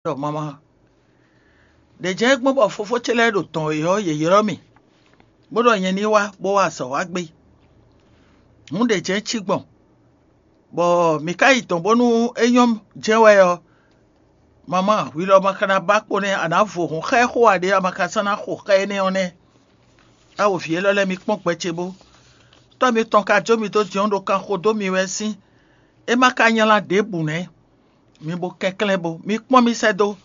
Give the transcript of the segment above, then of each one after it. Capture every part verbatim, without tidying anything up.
ɖɔ mama. Ɖě jɛ́n gbɔn bɔ fofó ce lɛ́ɛ ɖo dɔn wě ɔ́, yě ylɔ́ mì, bó ɖɔ nyɛ ní wá bó wá azɔ̌ wá gbé. Hǔn ɖě jɛ́n cí gbɔn, bɔ mǐ ka yi dɔ̌n bónú é nyɔ́ jɛ́n wɛ ɔ́, mama, hwi lɔ ma ka ná ba kpo nɛ́, a nǎ vo hǔn xá ɛ xó ǎ ɖé, a ma ka sɔ́ ná xo xá énɛ́ ɔ́ nɛ́. A wo vǐ élɔ́ lɛ́ɛ, mi kpɔ́n gbɛ ce bó. Tɔ́ mitɔn ka jó mi dó din ɔ́ ɖo kan xo dó mi wɛ sín. É ma ka nylá ɖěbǔ nɛ́. Mi bo kɛnklɛ́n bo, mi kpɔ́n mì sɛ́ dó.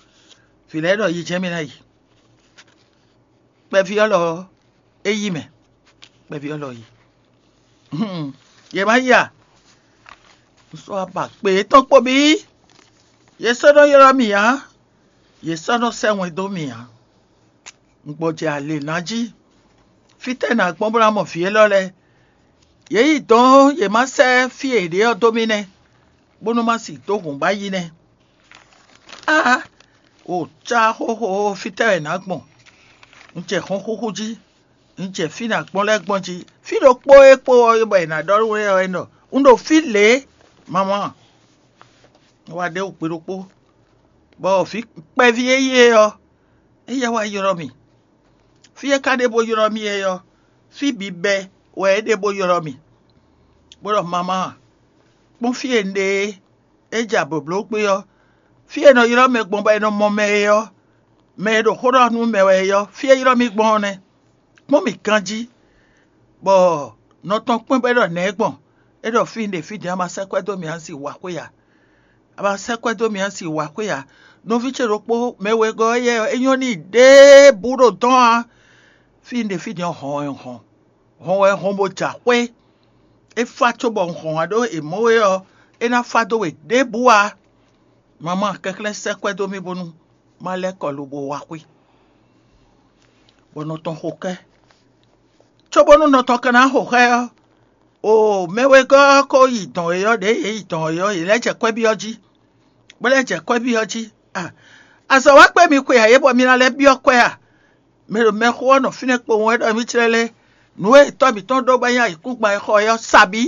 Vǐ lɛ́ɛ ɖɔ yi jɛ́n mì ná yi. Kpɛví ɔ́ lɔ ɔ́, é yí mɛ. Kpɛví ɔ́ lɔ yi. Yě má yi a? Un sɔ́ aba kpe yětɔn kpo bí. Yě sɔ́ nɔ ylɔ́ mì ǎ. Yě sɔ́ nɔ sɛ́ wɛn dó mì ǎ. Un gbɔjɛ alě ná jí. Fítɛ́ nǎ gbɔn bó ná mɔ vǐ élɔ́ lɛ́ɛ? Yě yi dɔn yě má sɛ́ fí e yě ɖe ɔ́ dó mì nɛ́, bónú má sì dó hǔn ba yi nɛ́. Aa, o cá xóxó, fítɛ́ wɛ nǎ gbɔn? Un jɛ hɔnxúxú jí, un jɛ fí nǎ gbɔn lɛ́ɛ gbɔn jí. Fí ɖokpó e kpo ɔ́ bɔ è nǎ ɖɔ nú we ɔ́, é nɔ un ɖo fí lě, mama. Wá ɖe wǔ gbe ɖokpó, bɔ vǐ kpɛví e yí é ɔ́, éyɛ́ wá ylɔ́ mì. Fí e ka ɖe bó ylɔ́ mì é ɔ́, fí bǐ bɛ́ wɛ é ɖe bó ylɔ́ mì, bó ɖɔ mama, kpɔ́n fí e un ɖe é, é jɛ ablǒbló gbé ɔ́, fí e è nɔ ylɔ́ mɛ gbɔn bɔ è nɔ mɔ mɛ é ɔ́, mɛ e ɖo xó ɖɔ nú mɛ wɛ é ɔ́, fí e ylɔ́ mì gbɔn ɔ́ nɛ́. Kpɔ́n mì ganjí, bɔ nɔ tɔn kpɔ́n bɔ é ɖɔ nɛ̌ gbɔn? É ɖɔ fí un ɖe fí din, a ma sɛ́ kwɛ́ dó mì a un sì wǎ xwé ǎ. A ma sɛ́ kwɛ́ dó mì a un sì wǎ xwé ǎ. Nɔví ce ɖokpó mɛ wegɔ́ éyɛ́ ɔ́, é nyɔ́ n'i ɖěbǔ ɖo dɔn ǎ. Fí un ɖe fí din ɔ́, hɔn wɛ un hɔn. Hɔn wɛ un hɔn bó jɛ axwé. É fá cóbɔ un hɔn wá ɖó è mɔ̌ we ɔ́, é ná fá dó we ɖěbǔ ǎ. Mamá kɛnklɛ́n sɛ́ kwɛ́ dó mì bónú má lɛ́ kɔ lobo wá xwé, bɔ nɔ tɔn xo kɛ́. Cóbónú nɔ tɔn ka ná xo xá ɛ ɔ́, o mɛ wegɔ́ ɔ́ ko yi dɔn e ɔ́, ɖěe yě yi dɔn e ɔ́, yě lɛ́ jɛ kwɛ́ byɔ́ jí, bó lɛ́ jɛ kwɛ́ byɔ́ jí. A azɔ̌ wá kpé mi xwe ǎ é bɔ mi ná lɛ́ byɔ́ kwɛ́ a? Mɛ ɖo mɛxó ɔ́ nɔ fínɛ́ kpowun wɛ ɖɔ mì clɛ́ lé. Nǔ e tɔ́ mǐtɔn ɖó bɔ é nyí ayǐkúngban e xɔ é ɔ́, sa bǐ.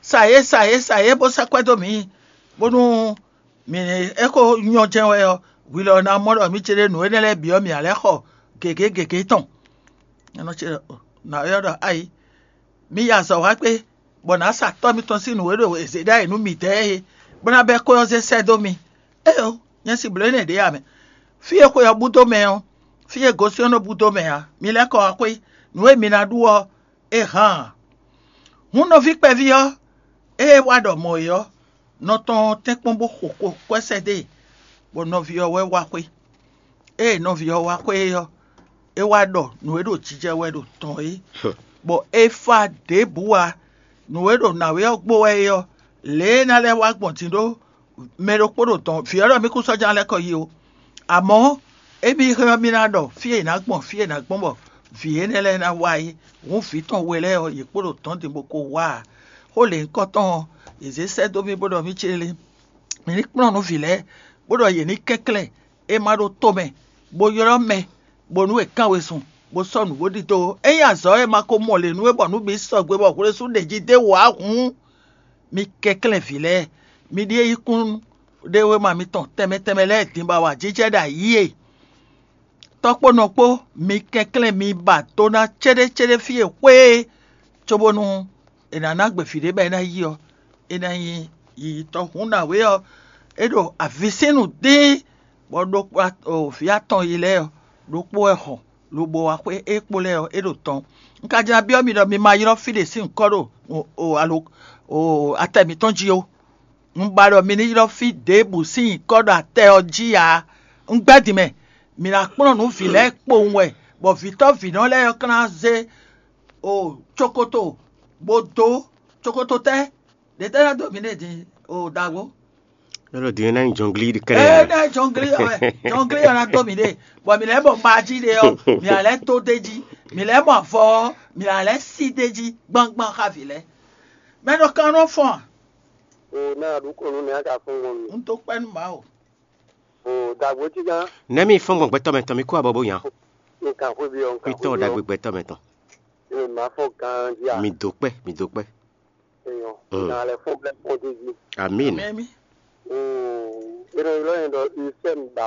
Sa yě, sa yě, sa yě, bó sɛ́ kwɛ́ dó mǐ, bónú mǐ e xo nyɔ́ jɛ́n wɛ ɔ́, hwi lɔ ná mɔ ɖɔ mǐ céɖénú énɛ́ lɛ́ɛ bǐ ɔ́, mǐ ná lɛ́ xɔ gěgé gěgé tɔn. Nǎwe ɔ́ ɖɔ: Ayi, mi yi azɔ̌ wa gbé, bɔ nǎ sa tɔ́ mitɔn sín nǔ e ɖo è zě ɖ'ayǐ nú midɛɛ é, bó ná bɛ́ xwé ɔ́ zé sɛ́ dó mi. Éeǒ, nyɛ si blǒ énɛ́ ɖě ǎ mɛ. Fí e xwe ɔ́ bú dó mɛ ɔ́, fí e gosín ɔ́ nɔ bú dó mɛ ǎ. Mi lɛ́ kɔ wá xwé; nǔ e mi ná ɖu ɔ́, é hán ǎ. Hǔn nɔví kpɛví ɔ́, ée é wá ɖɔ mɔ̌ é ɔ́, nɔ tɔn ɔ́ tɛ́nkpɔ́n bó xo xo kwɛ́ sɛ́ dó e, bɔ nɔví ɔ́ wɛ wá xwé. Ée nɔví ɔ́ wá xwé é ɔ́, é wá ɖɔ nǔ e ɖo jijɛ wɛ ɖo tɔn é, bɔ é fá ɖěbǔ ǎ. Nǔ e ɖo nǎwe ɔ́ gbo wɛ é ɔ́, lě e é ná lɛ́ wá gbɔn din ɖó mɛ ɖokpó ɖo dɔn vǐ ɔ́ ɖɔ mì kún sɔ́ ján lɛ́ kɔ yi ó. Amɔ̌, émí hɛn ɔ́, mì ná ɖɔ fí e è nǎ gbɔn, fí e è nǎ gbɔn bɔ vǐ énɛ́ lɛ́ɛ ná wá é. Hǔn vǐ tɔn we lɛ́ɛ ɔ́, yě kpo ɖo dɔ̌n din bó ko wá ǎ. Xó lěhunkɔtɔn ɔ́, yě zé sɛ́ dó mì bó ɖɔ mì céɖé, mǐ ní kplɔ́n nǔ vǐ lɛ́ɛ, bó ɖɔ yě ní kɛnklɛ́n é má ɖó tomɛ, bó ylɔ́ mɛ, bónú è kán wezun, bó sɔ́ nǔ bó ɖidó. Ényí azɔ̌ e ma ko mɔ lě nú we bɔ nǔ bǐ sɔgbe bɔ hwlesú ɖě jí d'é wǒ ǎ hǔn, mi kɛnklɛ́n vǐ lɛ́ɛ, mi ɖíe yí kún ɖe wéma mitɔn tɛnmɛ tɛnmɛ lɛ́ɛ din bɔ awǎjijɛ ɖo ayǐ e. Tɔ́ kpó nɔ kpó, mi kɛnklɛ́n mi ba do ná céɖécéɖé fí e xwé é, cóbónú è nǎ ná gbe vǐ ɖé bɔ é ná yí ɔ́, é ná nyí yiyitɔ́. Hǔn nǎwe ɔ́, é ɖo avǐsínnú dín, bɔ ɖokpó vǐ atɔn yi lɛ́ɛ ɔ́, ɖokpó wɛ hɔn lobo wá xwé é kpo lɛ́ɛ ɔ́, é ɖo tɔn. Un ka jlá byɔ́ mi ɖɔ mi ma ylɔ́ fí ɖě sín nyǐkɔ ɖo alo atɛ mǐtɔn jí ó. Un ba ɖɔ mi ní ylɔ́ fí ɖěbǔ sín nyǐkɔ ɖo atɛ ɔ́ jí ǎ. Un gbɛ́ din mɛ, mǐ ná kplɔ́n nǔ vǐ lɛ́ɛ kpowun wɛ, bɔ vǐtɔ́ vǐnɔ lɛ́ɛ ɔ́ ka ná zé o cokoto bó dó. Cokoto tɛ́? Ɖě tɛ́ ná dó mǐ nɛ́ din o ɖaxó? Ɖɔ din ná nyí jɔnglí ɖi kɛnɛ. Ée ná jɔnglí ɔ́ wɛ, jɔnglí ɔ́ ná dó mǐ ɖe, bɔ mǐ lɛ́ mɔ mají ɖe ɔ́, mǐ ná lɛ́ dó d'é jí, mǐ lɛ́ mɔ avɔ ɔ́, mǐ ná lɛ́ sí d'é jí gbangban xá vǐ lɛ́ɛ. Mɛ ɖo kan nɔ fɔ́n a? O ná ɖu kɔn nú nɛ̌ a ka fɔ́n gbɔn mi? Un dó kpɛ́ nú Mawu. O dagbo tí gán. Nɛ̌ mi fɔ́n gbɔn gbɛtɔ́ mɛ tɔn mi kú abɔ bó nya? Nǹkan xwé bí ɔ, nǹkan Kwítɔ́ xwé bí ɔ. Dagbe gbɛtɔ́ mɛ tɔn. Ẹ má fɔ́n ganjí a? Mi dó kpɛ́, mi dó kpɛ́. Eyɔn. Mm. Nà lɛ fɔ́n blɛ fɔ́n dé jí. Amín. Amín. Ee, è nɔ ylɔ́ nyɛ ɖɔ Usɛ́n